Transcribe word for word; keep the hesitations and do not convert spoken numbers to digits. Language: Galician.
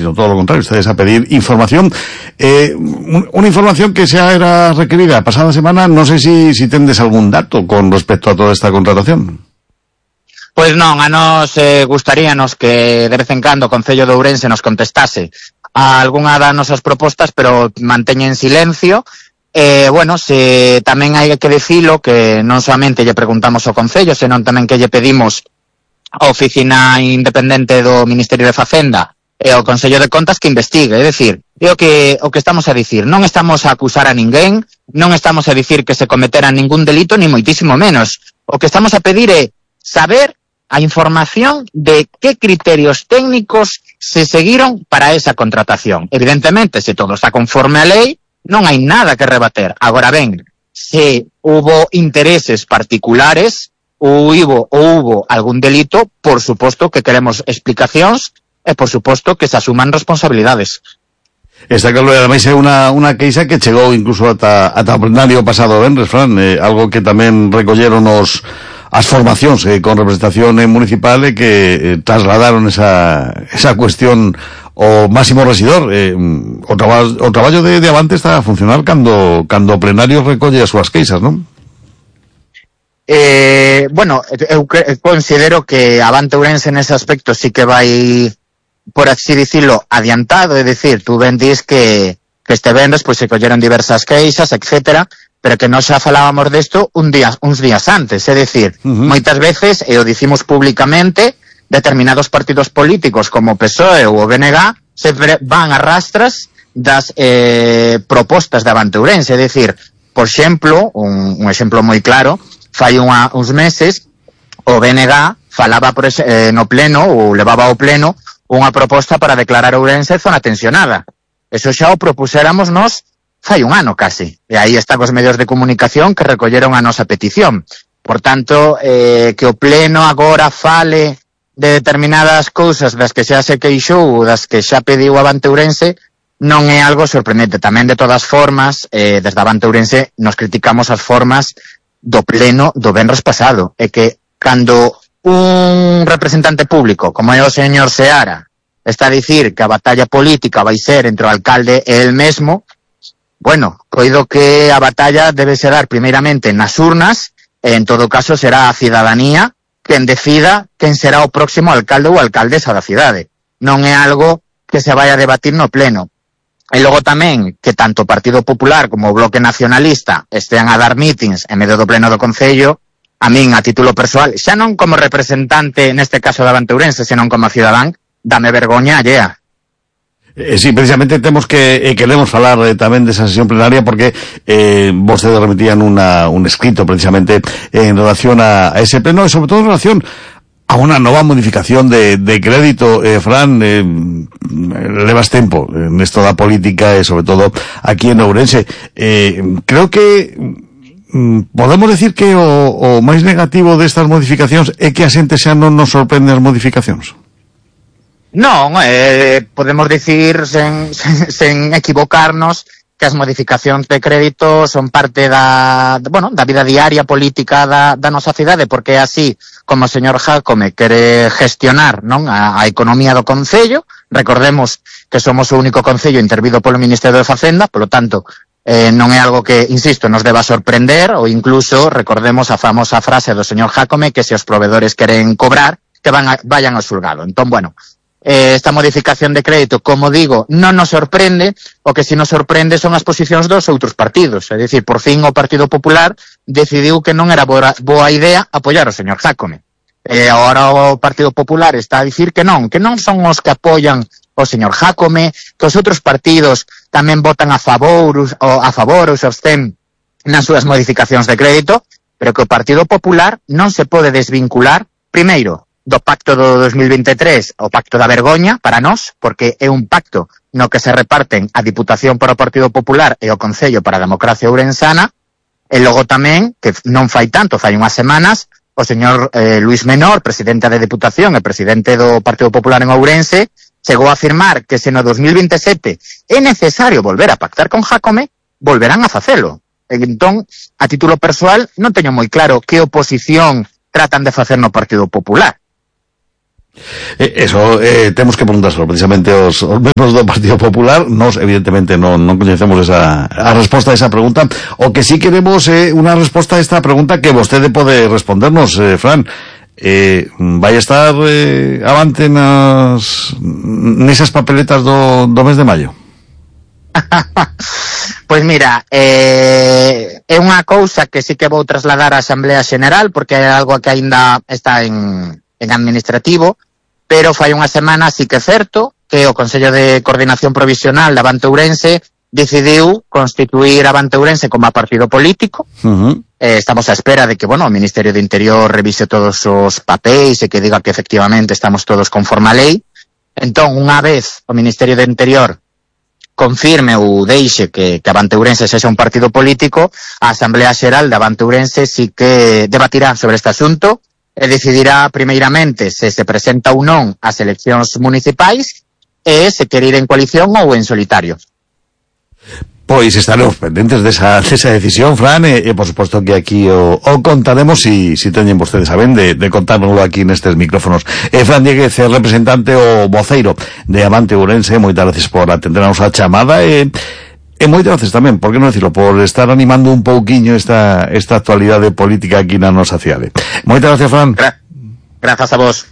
sino todo lo contrario, ustedes a pedir información. Eh, una información que se era requerida la pasada semana, no sé si, si tendes algún dato con respecto a toda esta contratación. Pois non, a nos eh, gustaríanos que de vez en cando o Concello de Ourense nos contestase a algunha das nosas propostas, pero manteña en silencio. Eh, bueno, se tamén hai que dicilo que non solamente lle preguntamos ao Concello, senón tamén que lle pedimos a Oficina Independente do Ministerio de Facenda e ao Consello de Contas que investigue, é dicir, é o que, o que estamos a dicir, non estamos a acusar a ninguén, non estamos a dicir que se cometera ningún delito, ni moitísimo menos. O que estamos a pedir é saber a información de que criterios técnicos se seguiron para esa contratación. Evidentemente, se todo está conforme a lei, non hai nada que rebater. Agora ben, se hubo intereses particulares ou hubo, ou hubo algún delito, por suposto que queremos explicacións e por suposto que se asuman responsabilidades. Está claro, ademais é unha, unha queixa que chegou incluso ata, ata o plenario pasado venres, Fran, eh, algo que tamén recolleron os as formacións eh, con representación eh, municipal e eh, que eh, trasladaron esa, esa cuestión ao máximo residor. Eh, o, traba, o traballo de, de Avante está a funcionar cando, cando o plenario recolle as súas queixas, non? Eh, bueno, eu, eu considero que Avante Ourense nese aspecto sí que vai, por así dicilo, adiantado, é dicir, tú ben dis que, que este venres pois se colleron diversas queixas, etcétera, pero que nós xa falábamos desto un día, uns días antes, é dicir, uh-huh. moitas veces, e o dicimos públicamente, determinados partidos políticos como o P S O E ou o B N G se van a rastras das eh, propostas de Avante Ourense, é dicir, por exemplo, un, un exemplo moi claro, fai unha, uns meses, o B N G falaba por ese, eh, no pleno, ou levaba ao pleno, unha proposta para declarar Ourense zona tensionada. Eso xa o propuséramos nós fai un ano casi, e aí están os medios de comunicación que recolleron a nosa petición. Por tanto, eh, que o pleno agora fale de determinadas cousas das que xa se queixou, das que xa pediu Avante Ourense, non é algo sorprendente. Tamén, de todas formas, eh, desde Avante Ourense nos criticamos as formas do pleno do venres pasado, e que cando un representante público, como é o señor Seara, está a dicir que a batalla política vai ser entre o alcalde e el mesmo, bueno, coido que a batalla debe ser dar primeiramente nas urnas, e en todo caso será a cidadanía quen decida quen será o próximo alcalde ou alcaldesa da cidade. Non é algo que se vai a debatir no pleno. E logo tamén que tanto o Partido Popular como o Bloque Nacionalista estean a dar mítins en medio do pleno do Concello, a min, a título persoal, xa non como representante, neste caso de Avante Ourense, senón como cidadán, dame vergoña allea. Eh, sí, precisamente temos que eh, queremos falar eh, tamén desa sesión plenaria porque eh, vostedes remitían una, un escrito precisamente eh, en relación a, a ese pleno e sobre todo en relación a unha nova modificación de, de crédito. eh, Fran, eh, levas tempo nesto da política e sobre todo aquí en Ourense. Eh, creo que mm, podemos decir que o, o máis negativo destas modificacións é que a xente xa non nos sorprende as modificacións. Non, eh, podemos dicir sen, sen, sen equivocarnos que as modificacións de crédito son parte da, bueno, da vida diaria política da, da nosa cidade, porque é así como o señor Jácome quere gestionar, non, a, a economía do Concello. Recordemos que somos o único Concello intervido polo Ministerio de Facenda, polo tanto, eh, non é algo que, insisto, nos deba sorprender, ou incluso recordemos a famosa frase do señor Jácome que se os provedores queren cobrar, que van a, vayan ao xulgado. Entón, bueno, Eh, esta modificación de crédito, como digo, non nos sorprende. O que si nos sorprende son as posicións dos outros partidos. É dicir, por fin o Partido Popular decidiu que non era boa, boa idea apoiar o señor Jácome. E agora o Partido Popular está a dicir que non, que non son os que apoian o señor Jácome, que os outros partidos tamén votan a favor, ou a favor ou se abstén nas súas modificacións de crédito, pero que o Partido Popular non se pode desvincular, primeiro, do pacto do dos mil veintitrés, o pacto da vergoña para nós, porque é un pacto no que se reparten a Diputación para o Partido Popular e o Concello para a Democracia Ourensana, e logo tamén, que non fai tanto, fai unhas semanas, o señor eh, Luís Menor, presidente da Deputación e presidente do Partido Popular en Ourense, chegou a afirmar que se no dos mil veintisiete é necesario volver a pactar con Jácome, volverán a facelo. E entón, a título persoal, non teño moi claro que oposición tratan de facer no Partido Popular. Eh, eso, eh, temos que preguntárselo precisamente aos, aos membros do Partido Popular. Nos, evidentemente, non, non coñecemos esa, a resposta a esa pregunta. O que sí queremos é eh, unha resposta a esta pregunta que vostede pode respondernos, eh, Fran. Eh, vai estar eh, avante nas nesas papeletas do, do mes de maio? Pois mira, eh, é unha cousa que sí que vou trasladar á Asamblea Xeneral, porque é algo que aínda está en, en administrativo, pero fai unha semana sí que é certo que o Consello de Coordinación Provisional de Avante Ourense decidiu constituir Avante Ourense como a partido político. Uh-huh. Eh, estamos á espera de que, bueno, o Ministerio de Interior revise todos os papéis e que diga que efectivamente estamos todos conforme a lei. Entón, unha vez o Ministerio de Interior confirme ou deixe que, que Avante Ourense sexa un partido político, a Asamblea Xeral de Avante Ourense sí que debatirá sobre este asunto e decidirá primeiramente se se presenta ou non ás eleccións municipais e se quere ir en coalición ou en solitario. Pois estaremos pendentes desa, desa decisión, Fran, e, e por suposto que aquí o, o contaremos si, si teñen vostedes a ben de, de contárnoslo aquí nestes micrófonos. Eh, Fran Dieguez, representante o voceiro de Avante Ourense, moitas gracias por atendernos a chamada e, e moitas gracias tamén, por que non decirlo, por estar animando un pouquiño esta, esta actualidade política aquí na nosa cidade. Moitas gracias, Fran. Gra- Grazas a vos.